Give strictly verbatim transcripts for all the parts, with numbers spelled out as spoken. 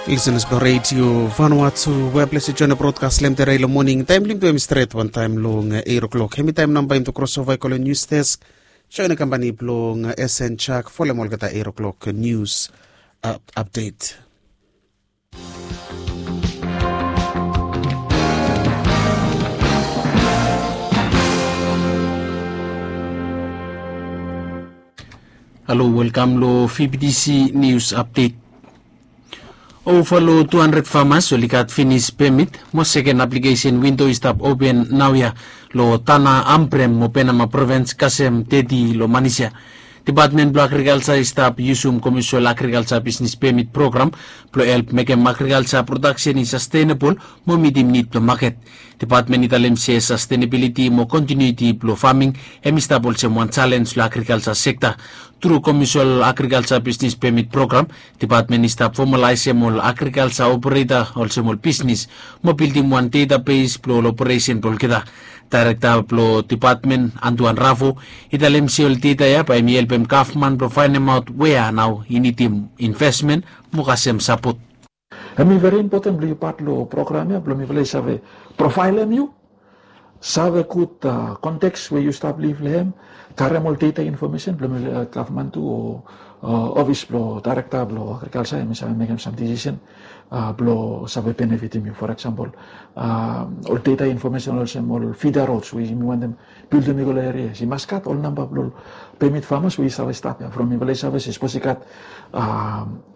Lisenas blong redio Vanuatu, we ples i join brodkas long em tede long moning. Taem blong yumi tu em i stret wantaem long eiro klok. Hemi taem nao bae yumi tu krosova i go long nius desk. Join kampani blong S N Jack folem olgeta eiro klok nius apdet. Halo, welkam long V B T C News Update. Ova long tu handred famas oli gat finis pemit mo seken aplikesen windo i stap open naoia long Tanah Ambrym mo Penama provins kasem teti long manis ya. Depatmen blong Agrikalsa i stap yusum komesol agrikalsa bisnis pemit program blong help mekem agrikalsa prodaksen i sastenabol mo mitim nid blong maket. Depatmen i talem se sastenabiliti mo kontinuiti blong faming hem i stap olsem wan jalenj long agrikalsa sekta. Tru komesol agrikalsa bisnis pemit program, depatmen i stap fomalaesem ol agrikalsa opereta olsem ol bisnis mo bildim wan databes blong ol operesen blong olgeta. Daerekta blong depatmen, Antoine Ravo, i talem se ol data ya bae hem i helpem gavman blong faenemaot wea nao i nidim investmen mo kasem sapot. Hem i veri impoten blong yu pat long program ya blong mifala i save profaelem yu, save gud konteks we yu stap liv long hem, karem ol data infomesen blong mifala gavman tu o ofis blong daerekta blong agrikalsa hem i save mekem sam disisen blong save benefitim yu. For eksampol, ol data infomesen olsem ol fida rods we yumi wantem bildim i go long erias, i mas gat ol namba blong ol pemit famas we i save stap ya. From mifala i save se sapos i gat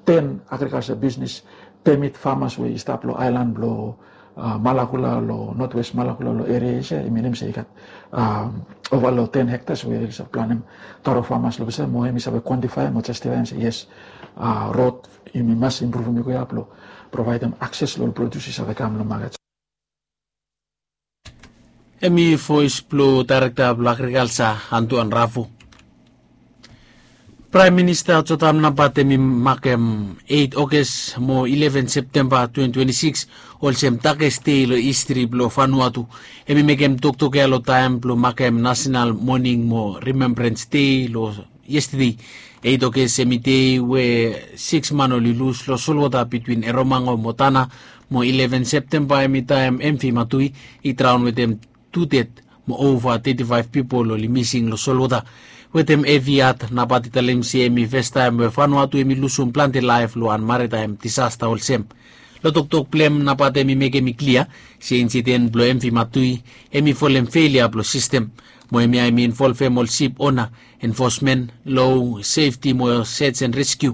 ten agrikalsa bisnis pemit famas we i stap long aelan blong Malakula, long notwest Malakula, long erias ya, i minim se i gat ova long ten hektas we i save planem taro famas long olsem mo hem i save kwantifaem mo jastifaem se yes, rod yumi mas impruvim i go ya blong provaedem akses long ol produs i save kam long maket. Hem i voes blong daerekta blong agrikalsa, Antoine Ravo. Praem Minista Jotam Napat hem i makem eit Oges mo ileven Septemba twenty twenty-six olsem dakes dei long histri blong Vanuatu. Hem i mekem toktok ya long taem blong makem nasenal moning mo rimembrans dei long yestede. Eit Oges hem i dei we siks man oli lus long solwota bitwin Eromango mo Tanah, mo ileven Septemba hem i taem M V Matui i draon wetem tu ded mo ova teti faef pipol oli mising long solwota. Wetem hevi hat Napat i talem se hem i fastaem we Vanuatu hem i lusum plante laef long wan maritaem disasta olsem. Long toktok blong hem Napat hem i mekem i klia se insiden blong M V Matui hem i folem felia blong sistem, mo hemia hem i involvem ol sip ona, enfosmen, lo, sefti mo search and rescue.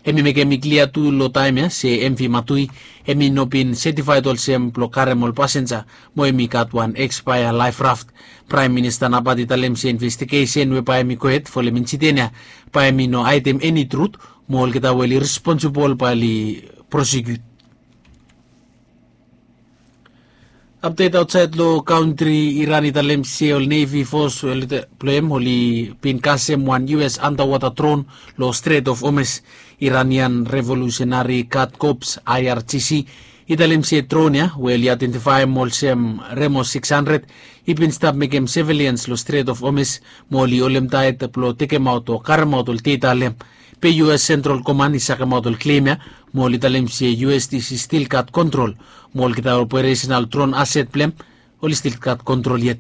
Hem i mekem i klia tu long taem ya se M V Matui hem i no bin setifaed olsem blong karem ol pasenja mo hem i gat wan ekspaea laef raft. Praem Minista Napat i talem se investigesen we bae hem i gohed folem insiden ya bae hem i no haedem eni trut, mo olgeta we oli responsibol bae oli prosekiut. Apdet aotsaed long kantri, Iran i talem se ol nevi fos blong hem oli bin kasem wan U S andawota dron long Strait of Hormuz. Iranian Revolusenari Gad Kops, I R G C, i talem se dron ya we oli aedentifaem olsem Remo siks handred i bin stap mekem sevelians long Strait of Hormuz mo oli holemtaet blong tekemaot o karemaot ol data long hem. Be U S Central Command i sakemaot ol klem ya mo oli talem se U S D C stil gat kontrol mo olgeta operesenal dron aset blong hem oli stil gat kontrol yet.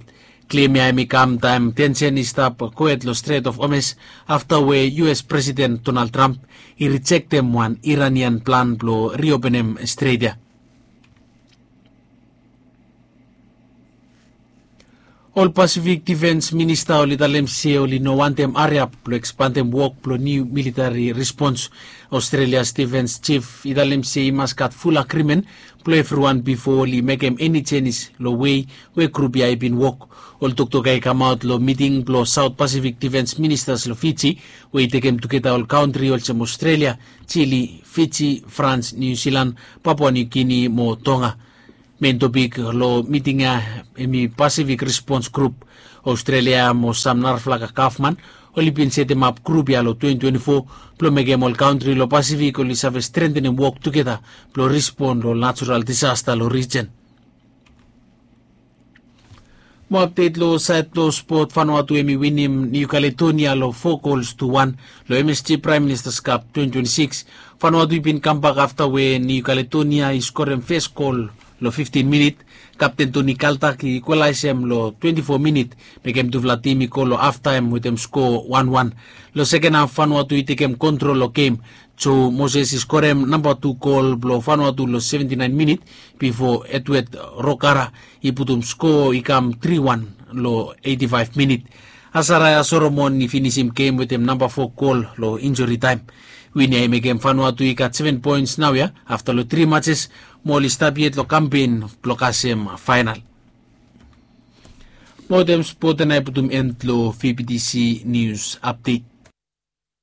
Klem ya hem i kam taem tensen i stap gohed long Strait of Hormuz afta we U S Presiden Donald Trump i rijektem wan Iranian plan blong riopenem stret ya. Ol Pasifik Difens Minista oli talem se oli no wantem hariap blong ekspandem wok blong niu militari rispons. Australia's Defence Chief i talem se i mas gat ful agrimen blong evriwan bifo oli mekem eni jenis long wei we grup ya i bin wok. Ol toktok ya i kamaot long miting blong South Pacific Defence Ministers long Fiji, we i tekem tugeta ol kantri olsem Australia, Chile, Fiji, France, New Zealand, Papua New Guinea mo Tonga. Mein topik long miting ya hem i Pacific Response Group. Australia mo sam narafala gavman oli bin setemap grup ya long twenty twenty-four blong mekem ol kantri long Pasifik oli save strentenem wok tugeta blong rispon long natural disasta long rijen. Mo apdet long saed blong spot, Vanuatu hem i winim Niu Kaletonia long fo gols tu wan long M S G Prime Minister's Cup twenty twenty-six. Vanuatu i bin kambak afta we Niu Kaletonia i skorem fes gol long fiftin minit. Kapten Toni Kaltak i ikwalaesem long twenti fo minit, mekem tufala tim i go long haftaem wetem skoa wan wan. Long seken haf, Vanuatu i tekem kontrol long gem. Joe Moses i skorem namba tu gol blong Vanuatu long seventi naen minit, bifo Edward Rokara i putum skoa i kam tri wan long eiti faef minit. Asaraya Solomon i finisim gem wetem namba fo gol long injuri taem. Win ya i mekem Vanuatu i gat seven poens naoia afta long tri matches, mo oli stap yet long kampen blong kasem faenal. Mo wetem spot ya nao i putum en long V B T C nius apdet.